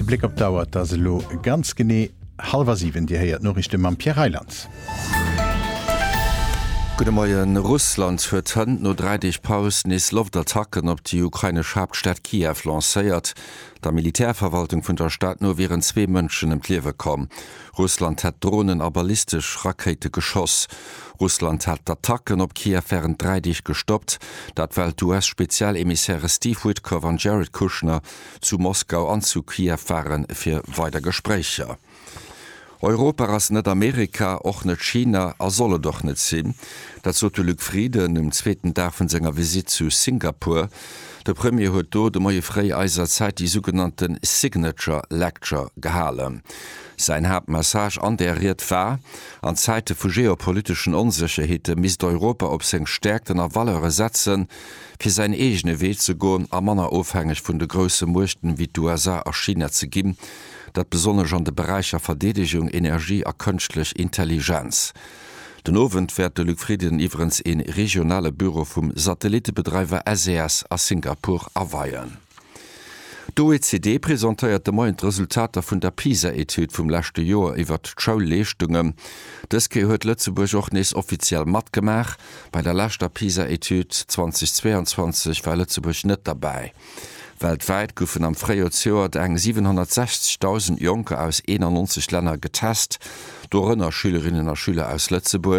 Bléck op d'Auer, Et ass elo ganz genee hallwer 7. Dir héiert d'Noriichte mam Pierre Reyland. Gudde Moien. Russland huet hënt no 3 Deeg Paus nees Loftattacken op déi ukrainesch Haaptstad Kiew lancéiert. Der Militärverwaltung vun der Stad no wieren zwee Mënschen ëm d'Liewe komm. Russland hätt Dronen a ballistesch Rakéite geschoss. Russland hat d'Attacken op Kiew wärend 3 Deeg gestoppt, dat well d'US-Spezialemissäre Steve Witkoff an Jared Kushner zu Moskau an zu Kiew ware fir weider Gespréicher. Europa ass net Amerika, och net China a soll et och net sinn. Dat sot de Luc Frieden um zweeten Dag vun senger Visitt zu Singapur. De Premier huet do de Moie fréi eiser Zäit déi sougenannte Signature Lecture gehalen. Säin Haaptmessage an där Ried war, An Zäite vu geopoliteschen Onsécherheete misst Europa op seng Stäerkten a Valeure setzen, fir säin eegene Wee ze goen a manner ofhängeg vun de grousse Muechten wéi d'USA a China ze ginn, dat besonnesch an de Beräicher Verdeedegung, Energie a kënschtlech Intelligenz. Den Owend wäert de Luc Frieden iwwerens ee regionale Büro vum Satellittebedreiwer SES a Singapur aweien. D'OECD presentéiert de Moien d'Resultater vun der PISA-Etüd vum leschte Joer iwwert d'Schoulleeschtungen. Dës Kéier huet Lëtzebuerg och nees offiziell matgemaach. Bei der leschter PISA-Etüd 2022 war Lëtzebuerg net derbäi. Weltwäit goufen am Fréijoer zejoert eng 760.000 Jonker aus 91 Länner getest, dorënner Schülerinnen a Schüler aus Lëtzebuerg.